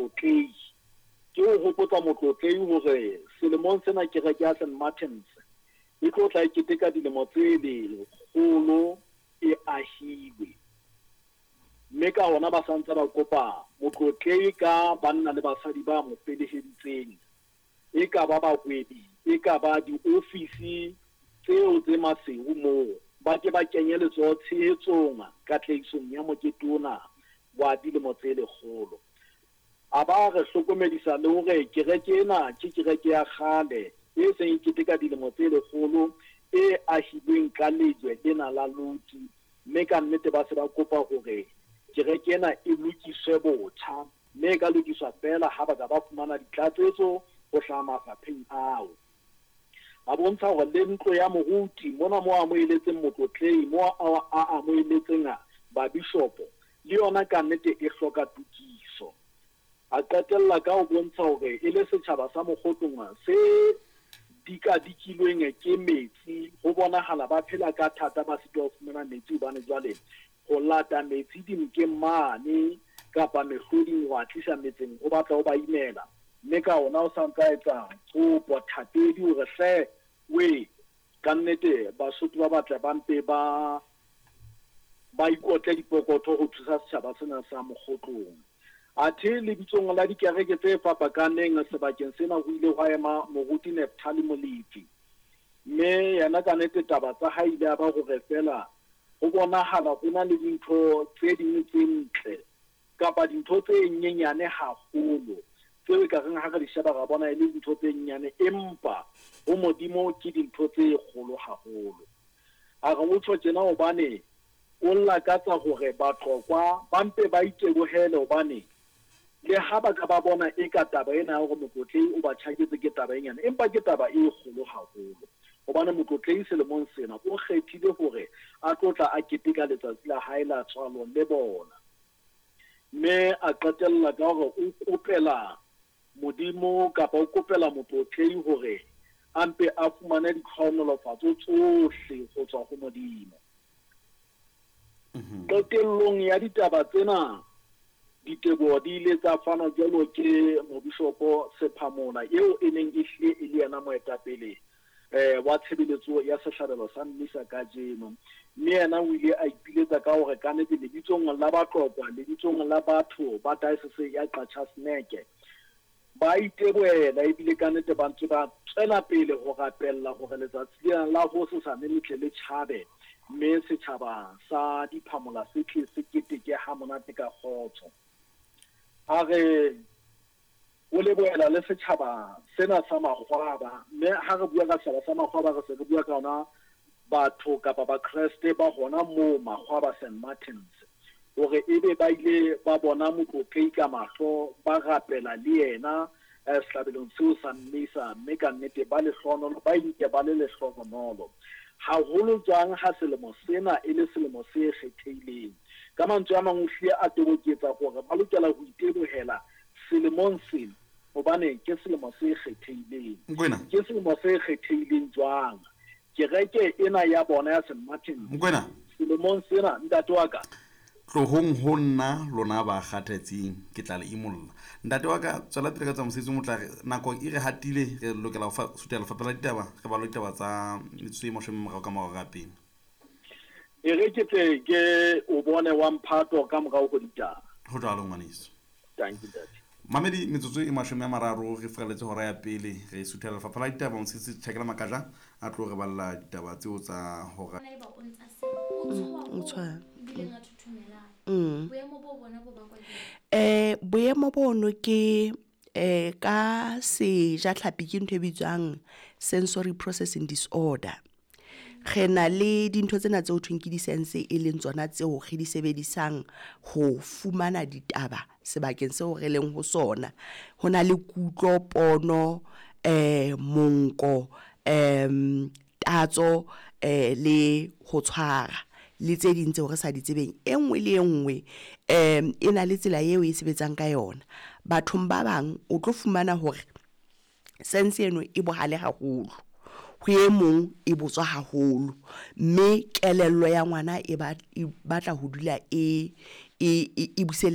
Motlotlehi. Ke ho hopotsa Motlotlehi hore selemong sena kereke ya St Martins e tlo tla e keteka dilemo tse lekgolo e ahilwe. Mme ka hona ba sa ntse ba kopa Motlotlehi ka banna le basadi ba mo feleheditseng, e ka ba bahwebi, e ka ba diofisi tseo tse Maseru moo, ba ke ba kenye letsoho tshehetsong katlehisong ya mokete ona wa dilemo tse lekgolo. A ba a re hlokomedisa le hore kereke ena ke kereke ya kgale e seng e keteka dilemo tse lekgolo e ahilweng ka lejwe lena la loti mme ka nnete ba se ba kopa hore kereke ena e lokiswe botjha mme e ka lokiswa feela ha ba ka ba fumana ditlatsetso ho hlaha mafapheng ao. A bontsha hore le ntlo ya moruti mona moo a amoheletseng motlotlehi, moo a amoheletseng babishopo, le yona kannete e hloka tokiso. A qetella ka ho bontsha hore e le setjhaba sa Mokgotlong se dikadikilweng ke metsi, ho bonahala ba phela ka thata ba sitwa ho fumana metsi hobane jwale ho lata metsi dinokeng mane kapa mehloding ho a tlisa metseng ho batla ho ba imela. Mme ka hona o sa ntse a etsa kopo thapedi hore hle wee kannete Basotho ba batle ba mpe ba ba ikotle dipokotho ho thusa setjhaba sena sa Mokgotlong. Athe lebitsong la dikereke tse fapakaneng sebakeng sena ho ile hwa ema Moruti Nephthali Molefi. Mme yena ka nete taba tsa hae ile ya ba hore feela ho bonahala ho na le dintho tse ding tse ntle kapa dintho tse nyenyane haholo tseo e ka reng ha re di sheba ra bona e le dintho tse nyenyane empa ho Modimo ke dintho tse kgolo haholo. A re o tjho tjena hobane o lakatsa hore Batlokwa ba mpe ba itebohele hobane le ha ba ka ba bona eka taba ena ya hore Motlotlehi o ba tjhaketse ke taba e nyane empa ke taba e kgolo haholo hobane Motlotlehi selemong sena o kgethile hore a tlo tla a keteka letsatsi la hae la tswalo le bona. Mme a qetella ka hore o kopela Modimo kapa o kopela Motlotlehi hore a mpe a fumane ditlhohonolofatso tsohle ho tswa ho Modimo. Qetellong ya ditaba tsena, diteboho di ile tsa fanwa jwalo ke Mobishopo Sephamola eo e neng e hlile e le yena moetapele wa tshebeletso ya sehlabelo sa Mmisa kajeno. Mme yena o ile a ipiletsa ka hore kannete lebitsong la Batlokwa, lebitsong la batho ba Diocese ya Qacha's Nek, ba itebohela ebile kannete ba ntse ba tswela pele ho rapella hore letsatsi lena la hosesane le tle le tjhabe mme setjhaba sa Diphamola se tle se keteke hamonate ka kgotso. A re O lebohela le setjhaba sena sa makgwaba, mme ha re bua ka setjhaba sa makgwaba re se re bua ka ona batho kapa Bakreste ba hona moo Makgwaba Saint Martins, hore ebe ba ile ba bona Motlotlehi ka mahlo, ba rapela le yena sehlabelong seo sa Mmisa, mme ka nnete ba lehlohonolo, ba inke ba le lehlohonolo. Haholo jwang ha selemo sena e le selemo se kgethehileng. Ka mantswe a mang o hlile a toboketsa hore ba lokela ho itebohela selemong sena, hobane ke selemo se kgethehileng. Nkwena. Ke selemo se kgethehileng jwang? Kereke ena ya bona ya St. Martin's. Nkwena. Selemong sena, ntate wa ka. Tlohong ho nna, lona ba kgathetseng, ke tla le imolla. Ntate wa ka, tswela pele ka tsa mosebetsi o motle. Nako e re hatile, re lokela ho fa suthela lefapha la ditaba, re bale ditaba tsa metsotso e mashome a mararo ka morao ka pele. E re ke tle ke o bone wa mphato ka morao ho ditaba. Ho jwalo, ngwaneso. Dankie, ntate. Mamedi, metsotso e mashome a mararo re furaletse hora ya pele, re suthela lefapha la ditaba. Mosese Tjhakela Makaja a tlo re balla ditaba tseo tsa hora. Boemo bono ke ka sejatlhapi ke ntho e bitswang sensory processing disorder. Re na le dintho tsena tseo thweng ke di-sense e leng tsona tseo re di sebedisang ho fumana ditaba sebakeng seo re leng ho sona. Ho na le kutlo, pono, monko, tatso le ho tshwara le tse ding tseo re sa di tsebeng. E nngwe le e nngwe e na le tsela eo e sebetsang ka yona. Bathong ba bang o tlo fumana hore sense eno e bohale haholo, ho e mong e botswa haholo, mme kelello ya ngwana e ba e batla ho dula e e e busele.